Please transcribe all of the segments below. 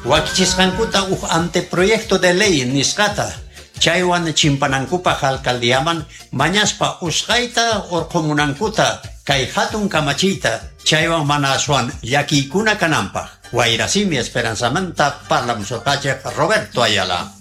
Wakichisqankuta huk anteproyecto de ley nisqata, chaywan chimpanankupaq alcaldiaman mañaspa usqayta urqumunankuta kay hatun kamachiyta, chaywan mana aswan llakiykuna kananpaq. Wayrasimi Esperanzamanta parlamusurqachik Roberto Ayala.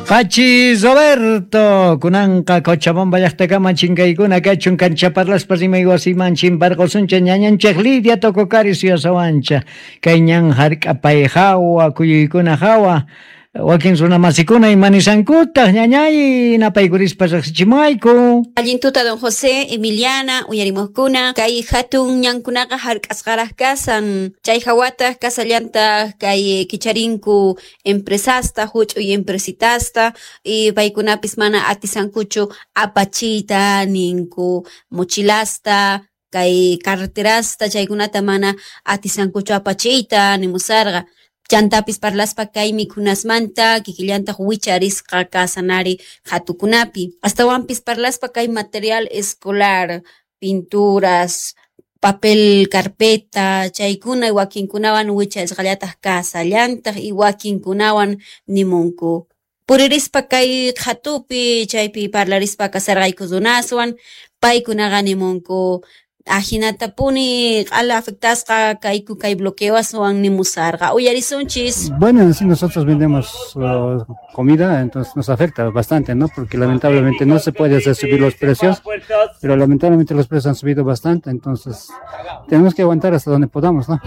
Pachi Roberto, kunanqa Cochabamba llaqtakama chinkaykuna kachun kancha parlaspa rimay wasiman chimparqusuncha ñañanchik Lidia Tococari suyasawancha kay ñan hark'apay hawa kuyuykuna hawa wakin runamasikuna imanisankutaq, ñañay, napaykurispa riqsichimuwayku. Allin tuta, don José, Emiliana, uyarimuqkuna. Kay hatun ñankunaqa hark'asqaraq kasan. Chay hawataq kasallantaq kay kicharinku empresasta, huch'uy empresitasta, y paykunapis mana atisankuchu apachiyta ninku mochilasta, kay carreterasta, chaykunata mana atisankuchu apachiyta nimusarqa. Chantapis parlaspa kay mikhunasmanta kikillantaq wicharisqa kasanari hatukunapi. Astawanpis parlaspa kay material escolar, pinturas, papel carpeta, chaykuna wakinkunawan wicharisqallataq kasallantaq y wakinkunawan nimunku. Puririspa kay qhatupi chaypi parlarispa kasarqayku runaswan, paykunaqa nimunku ahinatapuni q'ala afectasqa kayku kay bloqueoswan nimusarqa. Uyarisunchis. Bueno, en sí nosotros vendemos comida, entonces nos afecta bastante, ¿no? Porque lamentablemente no se puede hacer subir los precios, pero lamentablemente los precios han subido bastante, entonces tenemos que aguantar hasta donde podamos, ¿no?